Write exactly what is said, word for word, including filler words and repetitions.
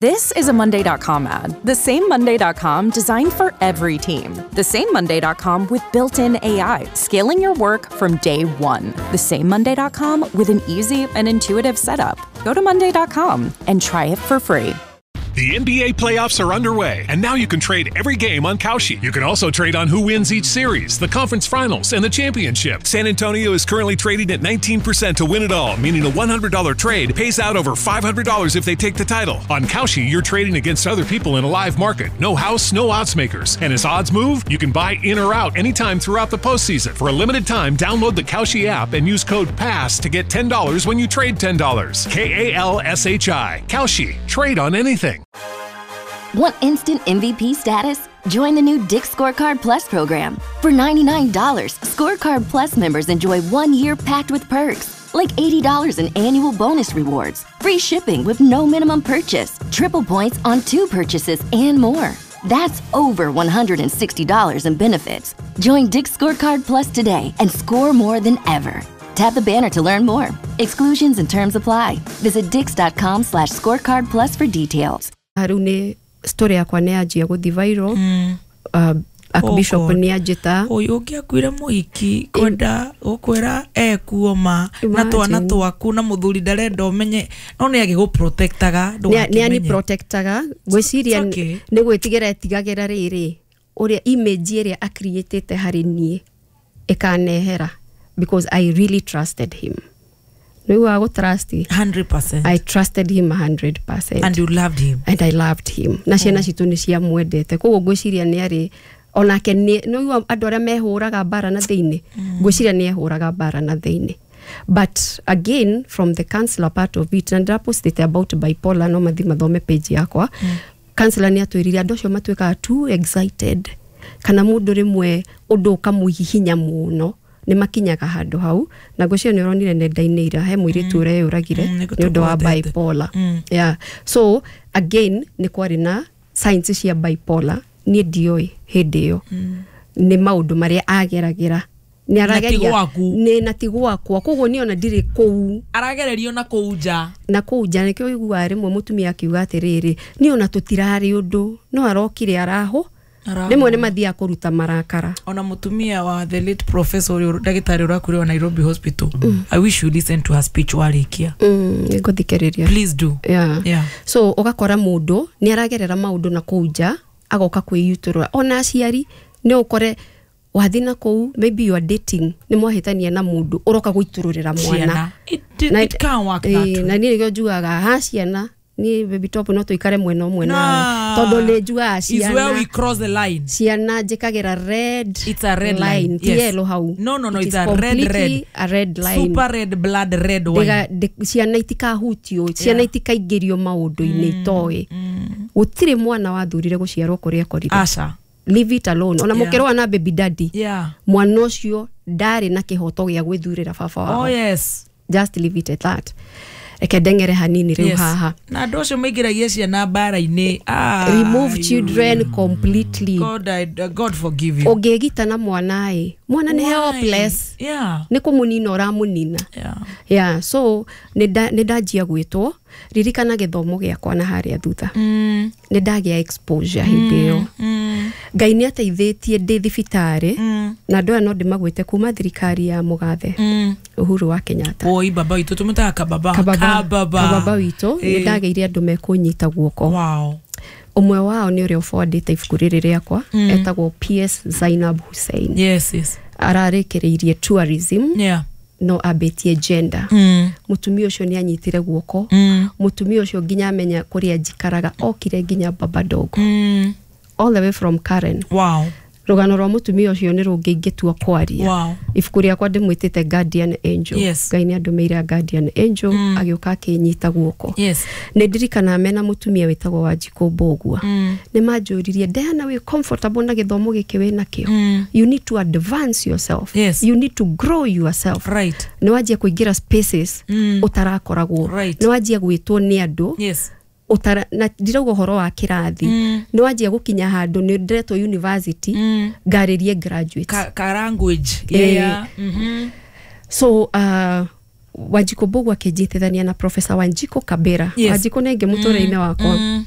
This is a Monday dot com ad. The same Monday dot com designed for every team. The same Monday dot com with built-in A I, scaling your work from day one. The same Monday dot com with an easy and intuitive setup. Go to Monday dot com and try it for free. The N B A playoffs are underway, and now you can trade every game on Kalshi. You can also trade on who wins each series, the conference finals, and the championship. San Antonio is currently trading at nineteen percent to win it all, meaning a one hundred dollar trade pays out over five hundred dollars if they take the title. On Kalshi, you're trading against other people in a live market. No house, no odds makers. And as odds move, you can buy in or out anytime throughout the postseason. For a limited time, download the Kalshi app and use code PASS to get ten dollars when you trade ten dollars. K A L S H I. Kalshi. Trade on anything. Want instant M V P status? Join the new Dick's Scorecard Plus program. For ninety-nine dollars, Scorecard Plus members enjoy one year packed with perks, like eighty dollars in annual bonus rewards, free shipping with no minimum purchase, triple points on two purchases, and more. That's over one hundred sixty dollars in benefits. Join Dick's Scorecard Plus today and score more than ever. Tap the banner to learn more. Exclusions and terms apply. Visit dicks.com slash scorecard plus for details. Rĩu nĩ story yakwa nĩ yanjia gũthiĩ viral. Mm. Uh, Archbishop Oh, nĩ anjĩta. Ũyũ ũngĩakuire mũhiki kwenda gũkwĩra ekuo ma na twana Imagine. twaku na mũthuri ndarenda ũmenye no nĩ agĩgũprotectaga nĩ ani protectaga ngwĩciria It's okay. nĩ gwĩtigĩra etigagĩra rĩrĩ ũrĩa image ĩrĩa acreatĩte harĩ niĩ ĩkanehera because I really trusted him. Nĩguo gũtrust hundred percent. I trusted him a hundred percent. And you loved him. And I loved him. Na ciana citũ nĩ ciamwendete koguo ngwĩciria nĩ arĩ onake nĩ nĩũigua andũ arĩa mehũraga mbara na thĩinĩ ngwĩciria nĩ ehũraga mbara na thĩinĩ. But again from the counselor part of it, na ndĩrapostĩte about bipolar no mathi mathome page yakwa. Counselor nĩ atwĩrire andũ acio matuĩkaga too excited kana mũndũ rĩmwe ũndũ ũkamũhihinya mũno nĩ makinyaga handũ hau na ngwĩciria nĩ ũronire nenda-inĩ ira he mũirĩtu ũreyũragire Mm, nĩ ũndũ wa nĩgũtũgwetete. bipolar. Mm. Yeah. So again nĩ kwarĩ na signs cia bipolar niĩ ndioĩ hĩndĩ ĩyo nĩ maũndũ marĩa ageragĩra nĩ arageria gwaku. nĩ na ti gwakwa koguo niĩ ona ndirĩ kũu aragererio na kũu nja na kũu nja nĩkĩo ũiguaga rĩmwe mũtumia akiuga atĩrĩrĩ niĩ ona tũtirarĩ ũndũ no arokire arahũ Arahũ. rĩmwe nĩ mathiaga kũruta marakara ona mutumia wa the late professor ũrĩa ndagĩtarĩ ũrakuire wa Nairobi Hospital. I wish you listen to her speech warĩkia. Mm, nĩngũthikĩrĩria. Please do. Yeah. Yeah. So ũgakora mũndũ nĩ aragerera maũndũ na kũu nja agoka kwĩyutũrũra ona aciari nĩ ũkore wathiĩ na kũu maybe you are dating nĩ mwahĩtania na mũndũ ũroka gũitũrũrĩra mwana Ciana. It, it, Na- it can't work that Eh, way. na niĩ nĩkĩo njugaga ha ciana niĩ baby top no tũikare mwena ũmwe nawe tondũ nĩ njugaga Is where we ciana cross the line. ciana njĩkagĩra red It's a red line. ti Yes. yellow hau No, no, no, It it's is a red, completely red. a red line. Super red blood red wine. Ndiga- ndi- ciana itikahutio ciana itikaingĩrio maũndũ-inĩ itoĩ gũtirĩ mwana wathurire gũciarwo kũrĩa akorire. Asha. Leave it alone ona Yeah. mũkĩrũa na baby daddy Yeah. mwana ũcio ndarĩ na kĩhoto gĩa gwĩthurĩra baba wao. Oh yes. Just leave it at that. Reke ndeng'ere hanini rĩu Yes. haha. Na andũ acio maingĩragia ciana mbara-inĩ. Ah, Remove children completely. God, I, God forgive you. Ũngĩgita na mwana ĩ mwana nĩ Why? helpless Yeah. nĩ kũmũnina ũramũnina. Yeah. Yeah, so nĩ ndanjia gwĩtwo ririkana gĩthomo gĩakwa na harĩa thutha Mm. nĩ ndagĩa exposure hĩndĩ ĩyo Mm. Ngai nĩ ateithĩtie ndĩ thibitarĩ Mm. na andũ aya no ndĩmagwĩte kuma thirikari ya mũgathe Mm. Uhuru wa Kenyatta. Oi baba witũ tũmĩtaga kababa. Kababa Kababa. kababa witũ nĩ Eh. ndagĩire andũ mekũnyita guoko. Wow. Ũmwe wao nĩ ũrĩa ũbondĩte ibuku rĩrĩ rĩakwa etagwo P S Zainab Hussein. Yes, yes. Ararĩkĩrĩirie tourism Yeah. no ambĩtie gender. Mm. Mũtumia ũcio nĩ anyitire guoko. Mm. Mũtumia ũcio nginya amenya kũrĩa njikaraga okire nginya Baba Dogo. Mm. All the way from Karen. Wow. Rũgano rwa mũtumia ũcio nĩ rũngĩ ingĩtua kwaria. Wow. Ibuku rĩakwa ndĩmwĩtĩte Guardian Angel. Yes. Ngai nĩ andũmĩire a Guardian Angel agĩũka akĩnyita guoko. Yes. Nĩ ndirikanaga mena mũtumia wĩtagwo Wanjikũ Mbũgua. Mm. Nĩ manjũririe Diana wĩ comfortable na gĩthomo gĩkĩ wĩ nakĩo. Mm. You need to advance yourself. Yes. You need to grow yourself. Right. Nĩ wanjia kũingĩra spaces Mm. ũtarakoragwo. Right. Nĩ wanjia gwĩtwo nĩ andũ. Yes. Ũtara na ndirauga ũhoro wa kĩrathi. Mm. Nĩ wanjia gũkinya handũ nĩ ndĩretwo university Mm. ngarĩrie graduates. Ka, ka language. Eh. Yeah. Mm-hmm. So uh, Wanjikũ Mbũgũ akĩnjitithania na Professor Wanjikũ Kabera. Yes. Wanjikũ nĩ ingĩ mũtũrĩre-inĩ wakwa. Mm.